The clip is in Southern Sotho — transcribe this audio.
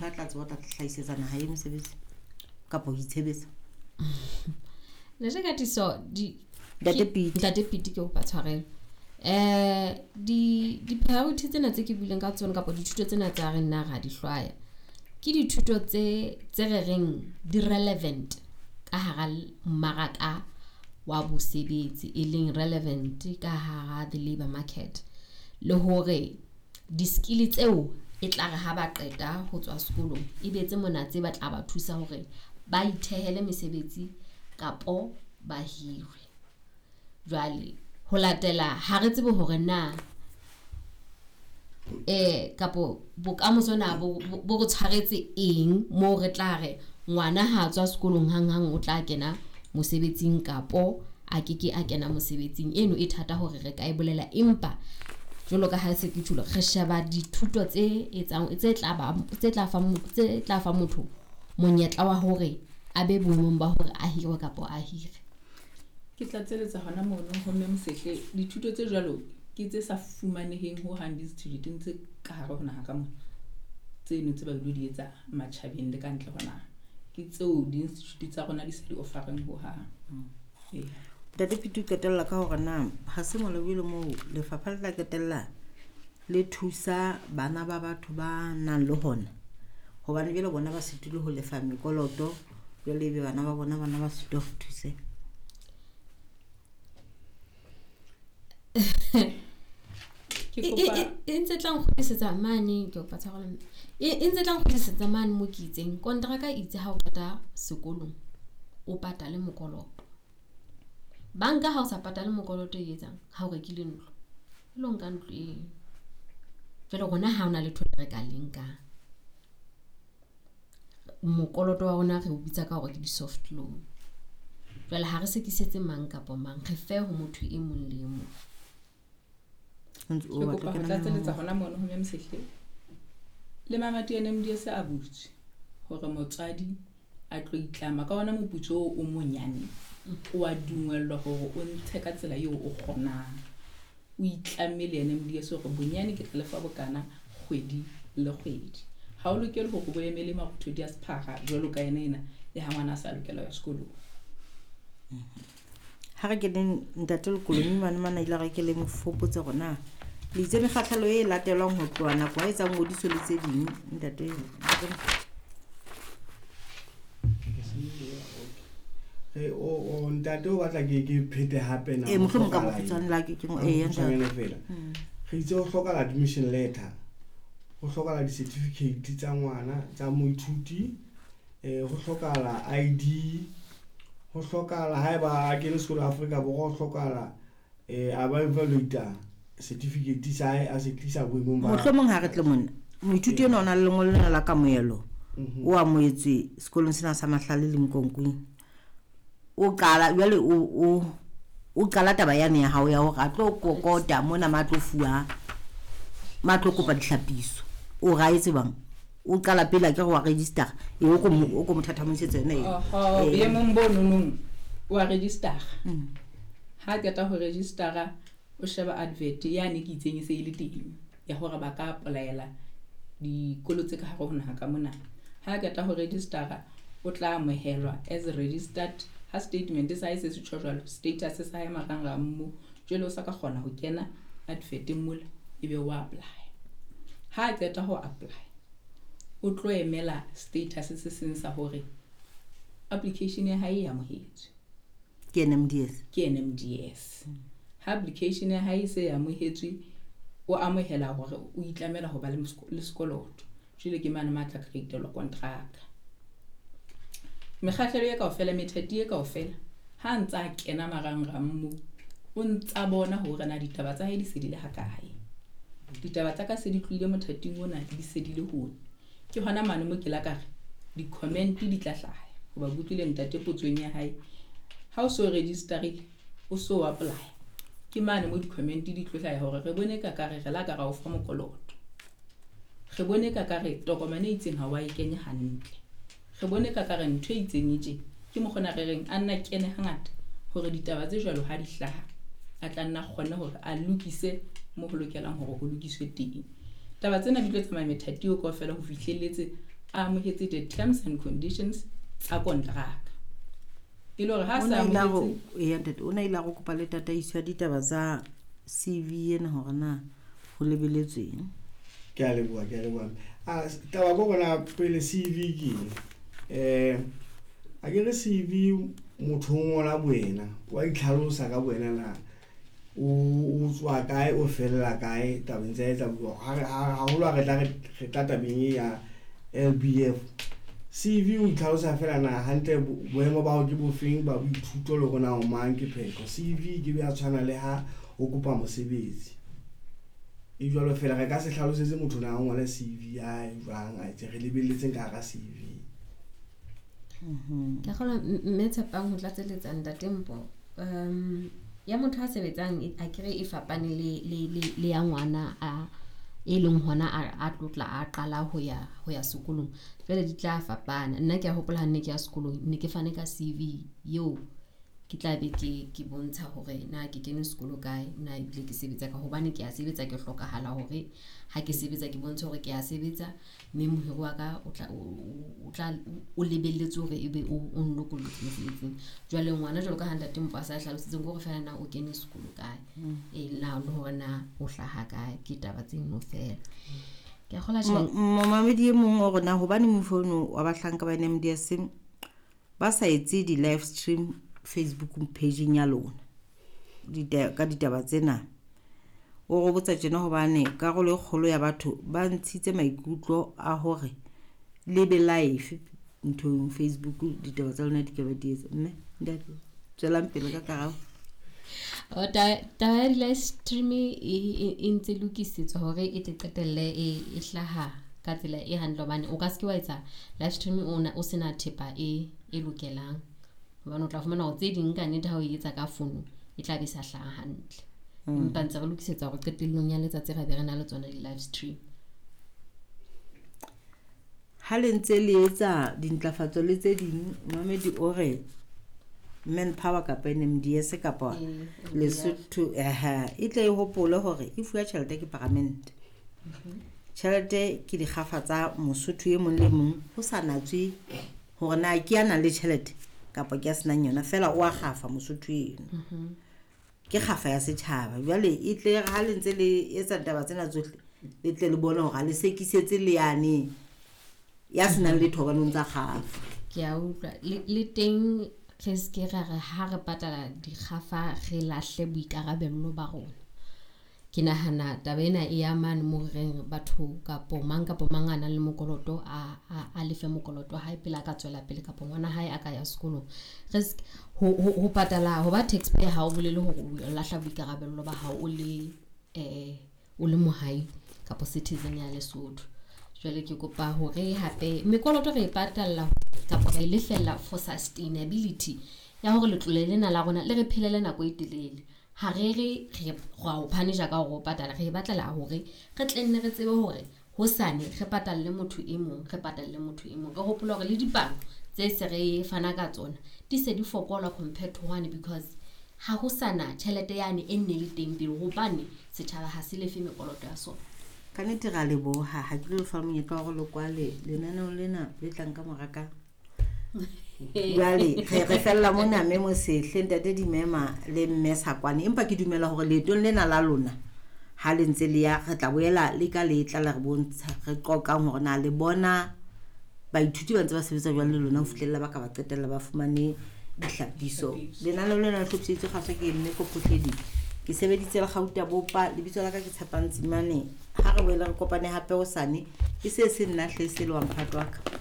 A tla tseba o tla hlahisetsa naha e mosebetsi kapa ho itshebetsa. Ntate Katiso, di Ntate Piti. Ntate Piti, ke kopa tshwarelo. Di priority tsena tse ke buileng ka tsona kapa dithuto tsena tsa re nna ra di hlwaya, ke dithuto tse re reng di relevant ka hara mmaraka wa bosebetsi, e leng relevant ka hara the labour market, le hore di-skill tseo e tla re ha ba qeta ho tswa sekolong, e be tse mona tse ba tla ba thusa hore ba ithehele mesebetsi kapo ba hirwe. Jwale ho latela ha re tsebe hore na kapo bokamoso na bo re tshwaretse eng moo re tla re ngwana ha tswa sekolong hanghang o tla kena mosebetsing kapo a keke a kena mosebetsing. Eno e thata hore re ka e bolela, empa jwalo ka ha se ke tjholo, re sheba dithuto tse etsang tse tla ba tse tla fa tse tla fa motho monyetla wa hore a be boemong ba hore a hirwe kapa a hire. Ke tla tseletsa hona mono ho Mme Mosehle. Dithuto tse jwalo ke tse sa fumaneheng ho hang di-institute tse ka hare ho naha ka mona, tseno tse ba ilo di etsa matjhabeng le ka ntle ho naha, ke tseo di-institute tsa rona di sa di offereng ho hang. Ee. Ntate Piti, o qetella ka hore na ha se molao le moo lefapha le tla qetella le thusa bana ba batho ba nang le hona, hobane jwale bona ba sitile ho lefa mekoloto, jwale ebe bana ba bona bona ba sitwa ho thuseha. Ke kopa E ntse tla nkgutlisetsa mane, ke kopa tshwarelo mme. E ntse tla nkgutlisetsa mane mo ke itseng kontraka itse ha o qeta sekolong o patale mokoloto. Banka ha o sa patale mokoloto e etsang ha o rekile ntlo, e lo nka ntlo eo. Jwale rona ha hona letho le re ka le nkang. Mokoloto wa rona re o bitsa ka hore ke di-soft loan. Jwale ha re sekisetse mang kapa mang, re fe ho motho e mong le e mong. Ke kopa ho tlatseletsa hona mono ho Mme Mosehle. Le mamati a NMDS a butswe hore motswadi a tlo itlama ka ona moputso oo o monyane, o a dungwellwa hore o ntshe ka tsela eo o kgonang. O itlamme le NMDS hore bonyane ke tla lefa bokana kgwedi le kgwedi. Ha o lokele hore bo emele marothodi a sephara jwalo ka ena ena le ha ngwana a sa lokela ho ya sekolong. Ha re keneng ntate Lekolomi mane mana ile re ke le mofopotse hore na le itse mekgahlelo e latelwang ho tloha nako ha etsa ngodiso le tse ding, ntate. O ntate o batla ke phete hape na? Ee, mohlomong ka bokgutshwane la ke ee, ntate. Fela re itse ho hlokahala admission letter, ho hlokahala di-certificate tsa ngwana tsa moithuti, ho hlokahala ID, ho hlokahala haeba a kene sekolo Afrika Borwa, ho hlokahala a ba evaluate certificate sa hae a se tlisa boemong ba Mohlomong ha re tle mona, moithuti enwa o na le lengolo lena la kamohelo, o amohetswe sekolong sena sa Mahlale le Nkonkwing. O qala jwale o qala taba yane ya hao ya hore a tlo kokota mona ma tlo fuwa, ma tlo kopa dihlapiso. O ra etse bang? O qala pele a ke re wa register, e o ko o ko mothathamoisetsa yona eo. Oho, boemong bo nonong wa register. Ha qeta ho registera, o sheba advert yane ke itseng e se e le teng ya hore ba ka apply-ela dikolo tse ka hare ho naha ka mona. Ha qeta ho registera, o tla amohelwa as registered. Ha statement sa hae se se tjho jwalo, status sa hae marangrang mo, jwale o sa ka kgona ho kena adverteng mola ebe o apply. Ha qeta ho apply, o tlo emela status se seng sa hore application ya hae e amohetswe. Ke NMDS. Ke NMDS. Ha application ya hae e se e amohetswe, o amohela hore o itlamela ho ba le sekoloto. Jwale ke mane ma tla create-elwa kontraka. Mekgahlelo e kaofela, methati e kaofela, ha ntsa a kena marangrang mo, o ntsa bona hore na ditaba tsa hae di se di le hakae. Ditaba tsa ka se di tlohile mothating ona, di se di le hone. Ke hona mane mo ke la ka re di-comment di tla hlaha. Hoba ke utlwile ntate potsong ya hae, ha o so registerile, o so apply, ke mane mo di-comment di tlo hlaha hore re bone ka kare re la ka ra o fa mokoloto. Re bone ka kare tokomane e itseng ha wa e kenya hantle. Re bone ka kare ntho e itseng e tje. Ke mokgona re reng a nna kene hangata hore ditaba tse jwalo ha di hlaha, a tla nna kgone hore a lokise mo ho lokelang hore ho lokiswe teng. Taba tsena di tlo tsamaya methati eo kaofela ho fihlelletse a amohetse the terms and conditions tsa kontraka. E le hore ha O sa na ile a amohetse eya ntate, o na ile a go kopa le tataiso ya ditaba tsa CV ena hore na ho lebeletsweng. Ke a leboha, ke a leboha. Taba ko rona pele CV ke eng? A ke re CV motho o ngola boena, wa itlhalosa ka boena na o tswa kae, o fella kae tabeng tsa etsa bua. Haholo ha re tla re tla tabeng e ya LBF. CV o itlhalosa fela na hantle boemo ba hao ke bofeng ba boithuto le hore na o mang ke phetho. CV ke be ya tshwana le ha o kopa mosebetsi. E jwalo fela re ka se hlalosetse motho na o ngole CV ya hae jwang, a etse re lebelletseng ka hara CV. Ke kgolwa mme Tshepang ho tlatseletsa ntate Mpho. Ya motho a sebetsang a kere e fapane le ya ngwana a e leng hona a tlotla a qala ho ya sekolong. Jwale di tla fapana. Nna ke a hopola ha nne ke ya sekolong, ne ke fane ka CV eo ke tla be ke bontsha hore na ke kene sekolo kae, na ebile ke sebetsa ka hobane ke a sebetsa, ke hlokahala hore ha ke sebetsa ke bontshe hore ke a sebetsa, mme mohiri wa ka o tla o tla o lebelletse hore ebe o nlokollotse mosebetsing. Jwale ngwana jwalo ka ha ntate Mpho a sa hlalositseng ke hore feela na o kene sekolo kae, na le hore na o hlaha kae, ke taba tseno fela. Ke a kgolwa tjhe. Momamedi e mong o rona hobane mofono wa bahlanka ba NMDS ba sa etse di-live stream Facebook page-eng ya lona ka ditaba tsena. O re botsa tjena hobane karolo e kgolo ya batho ba ntshitse maikutlo a hore le be live nthong Facebook ditaba tsa lona di ka ba di etsa. Mme ntate tswelang pele ka karabo. Taba ya di-live stream e ntse lokisetswa hore e tle qetelle e hlaha ka tsela e hantle, hobane o ka se ke wa etsa live stream o sena thepa e lokelang. Hobane o tla fumana hore tse ding ka nnete ha o e etsa ka fono e tla be sa hlaha hantle. Empa ntse re lokisetsa hore qetellong ya letsatsi ra be re na le tsona di-live stream. Ha le ntse le etsa dintlafatso le tse ding, Mamedi o re Manpower kapa NMDS kapa Lesotho e tle e hopole hore e fuwa tjhelete ke paramente. Tjhelete ke dikgafa tsa Mosotho e mong le mong, ho sa natswe hore na ke ya nang le tjhelete kapa ke ya senang yona, fela o a kgafa Mosotho eno. Ke kgafa ya setjhaba. Jwale e tle ha le ntse le etsa ditaba tsena tsohle, le tle le bone hore ha le sekisetse le yane ya senang letho hobane o ntsa kgafa. Ke a utlwa. Le teng re se ke ra re ha re patala dikgafa re lahle boikarabello ba rona. Ke nahana taba ena e ya mane moo re reng batho kapo mang kapo mang a nang le mokoloto a lefe mokoloto wa hae pele a ka tswela pele kapo ngwana hae a ka ya sekolong. Re se ho patala ho ba taxpayer ha o bolele hore o lahla boikarabello ba hao o le mohai kapo citizen ya Lesotho. Jwale ke kopa hore hape mekoloto re e patalla kapa re e lefella for sustainability ya hore letlole lena la rona le re phelele nako e telele. Ha re re ra o punish-a ka hore o patala, re e batlela hore re tle nne re tsebe hore hosane re patalle motho e mong, re patalle motho e mong. Re hopole hore le dipalo tse se re fana ka tsona di se di fokola compared to one, because ha ho sana tjhelete yane e nne le teng pele, hobane setjhaba ha se lefe mekoloto ya sona. Ka nnete ra leboha, ha ke lo lefa monyetla wa hore le kwale lenaneo lena le tlang ka mora ka. Jwale re fella mona mme Mosehle, ntate Dimema le mme Sakwane, empa ke dumela hore leetong lena la lona ha le ntse le ya re tla boela le ka letla la re bontsha re qoqang hore na le bona baithuti ba ntse ba sebetsa jwang le lona ho fihlella ba ka ba qetella ba fumane dihlapiso. Lenaneo lena le hlophiseditswe kgaso ke mme Kophohledi. Ke sebeditse le Gauta Bopa, lebitso la ka ke Tshepang Tsimane. Ha re boele re kopane hape hosane, e se se nna hle se le wa mphato wa ka.